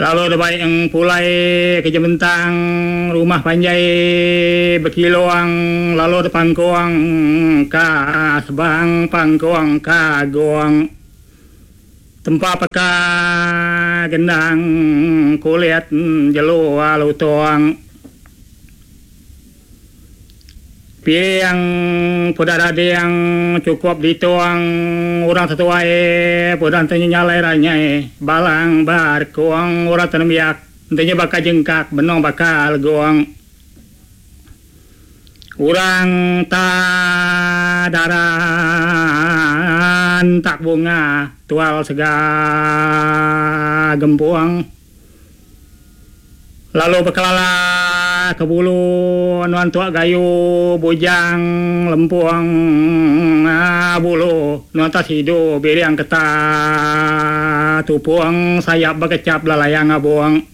Lalu dibai eng pulai ke jementang rumah panjai bekilong lalu dipangkong ka sebang pangkong ka gong. Tempa peka gendang kulit jelu lutong. Piring peda dading chukup ditung orang tetuai peda enti nya nyalai ranyai balang ba rekung orang te nembiak enti nya baka jengkak benung baka legung. Orang ta dara entak bunga tual sega gempung. Lalu bekelala ke bulu nuan tuak gayu bujang lempung bulu nuan tak sidu biring keta tupung sayap bekechap lelayang abung.